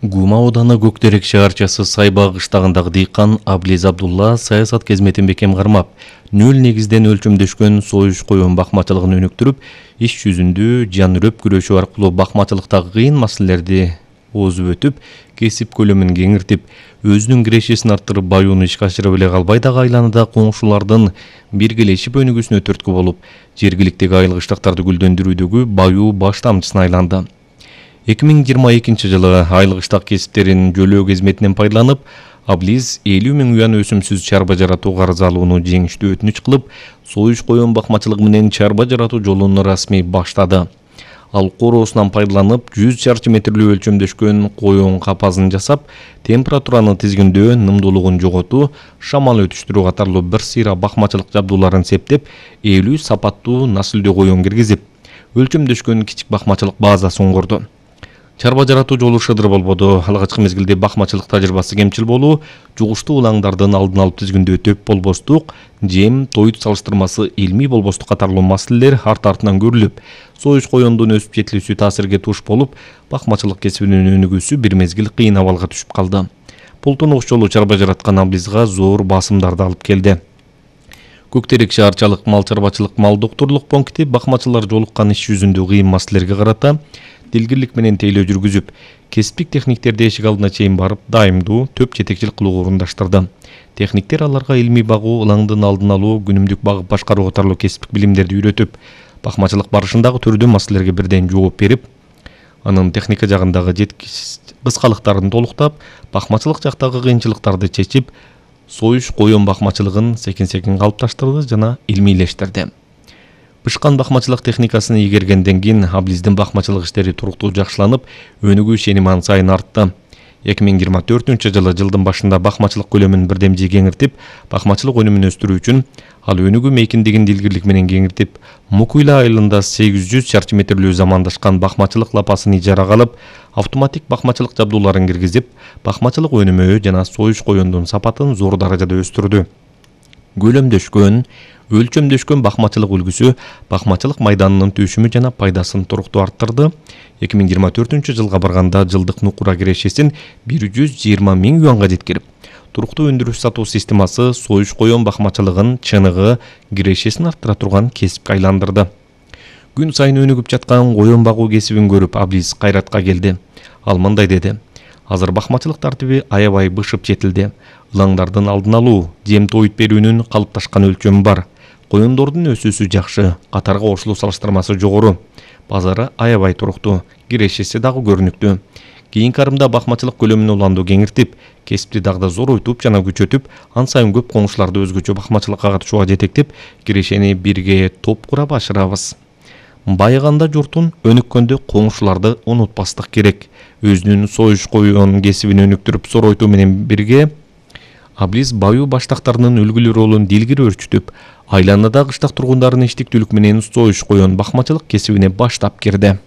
Гума ауданы Көктерек шаарчасы Сайбаа кыштагындагы дыйкан Аблиз Абдулла саясат қызметін бекем кармап, нөл негизден өлчөмдөшкөн союш коюн бакмачылыгын өнүктүрүп, иш жүзүндө жан-үрөп күрөшүү аркылуу бакмачылыктагы кыйын маселелерди оозуп өтүп, кесип көлөмүн кеңиртип, өзүнүн кирешесин арттырып баюуну ишке ашыра эле калбай дагы айланада коңшулардын биргелешип өнүгүүсүнө түрткү болуп, жергиликтеги айыл кыштактарды гүлдөндүрүүдөгү баюу баш тамчысына айланды. 2022 жылы айыл кыштак кесиптерин жөлөө кызметинен пайдаланып, Аблиз 50 000 уян өсүмсүз чарба жаратуу карыз алууну жеңиштүү өтүнүч кылып, союш коюн бакмачылыгы менен чарба жаратуу жолун расмий баштады. Ал короосунан пайдаланып, 100 чарчы метрлүү өлчөмдөшкөн коюн капазын жасап, температураны тизгиндөө, нымдуулугун жоготуу, шамал өтүштүрүү катарлуу бир сыйра бакмачылык жабдууларын септеп, 50 сапаттуу насылдөө коюн киргизип, өлчөмдөшкөн кичик бакмачылык базасын курду. Чарба жаратуу жолу шыдыр болбоду. Алгачкы мезгилде бакмачылык тажрыйбасы кемчил болуу, жугуштуу улаңдардын алдын алып тизгиндөө төп болбостук, жем, тоют салыштырмасы илмий болбостук катарлуу маселелер арт-артынан көрүлүп, союш коюндун өсүп жетилүүсү таасирге туш болуп, бакмачылык кесибинин өнүгүүсү бир мезгил кыйын абалга түшүп калды. Бул тунук жолу чарба жараткан Аблизга зор басымдарды алып келди. Көктерек шаарчалык мал чарбачылык мал доктурлук пункти бакмачылар жолуккан иш жүзүндө кыйын маселелерге карата дилгирлик менен тейлөө жүргүзүп, кесиптик техниктерди эшик алдына чейин барып, дайымдуу төп жетекчилик кылууга уруңдаштырды. Техниктер аларга илмий багуу, ылаңдын алдын алуу, күнүмдүк багып башкаруу катарлуу кесиптик билимдерди үйрөтүп, бакмачылык барышындагы түрдүү маселелерге бирден жооп берип, анын техника жагындагы кыскалыктарын толуктап, бакмачылык жактагы кыйынчылыктарды чечип, союш коюн бакмачылыгын секин-секин калыпташтырды жана илмийлештирди. Бышкан бакмачылык техникасын ийгергенден кийин Аблиздин бакмачылык иштери туруктуу жакшыланып, өнүгүү ишеними ан сайын артты. 2024 жылы жылдын башында бакмачылык көлөмүн бирдемжи кеңиртип, бакмачылык өнүмүн өстүрүү үчүн ал өнүгүү мейкиндигин дилгирлик менен кеңиртип, Мукуйла айылында 800 чарчы метрлүү замандашкан бакмачылык лапасын ижарага алып, автоматик бакмачылык жабдууларын киргизип, бакмачылык өнүмү жана союш коюндун сапатын зор даражада өстүрдү. Көлөмдөшкөн, өлчөмдөшкөн бакмачылык үлгүсү бакмачылык майданынын түшүмү жана пайдасын туруктуу арттырды. 2024 жылга барганда жылдык нукура кирешесин 120 000 юанга жеткирип, туруктуу өндүрүш сатуу системасы союш коюн бакмачылыгын чыныгы кирешесин арттыра турган кесипке айландырды. Күн сайын өнүгүп жаткан коюн багуу кесибин көрүп, Аблиз кайратка келди. Ал мындай деди: азыр бакмачылык тартиби аябай бышып жетилди. Илаңдардын алдын алуу, жем тоют берүүнүн калыпташкан өлчөмү бар. Коюндордун өсүүсү жакшы, катарга кошулуу салыштырмасы жогору. Базары аябай туруктуу, кирешеси дагы көрүнүктүү. Кийинки арымда бакмачылык көлөмүн уланду кеңиртип, кесипти дагы да зоройтуп жана күчөтүп, ан сайын көп коңшуларды өзгөчө бакмачылыкка катышууга жетектеп, кирешени бирге топ курап ашырабыз. Байыганда журтун, өнүккөндө коңшуларды унутпастык керек. Өзүнүн союш коюн кесибин өнүктүрүп зоройтуу менен бирге Аблиз баюу баштактарынын үлгүлүү ролун дилгири өрчүтүп, айланада кыштак тургундарын иштиктүүлүк менен союш коюн бакмачылык кесибине баштап кирди.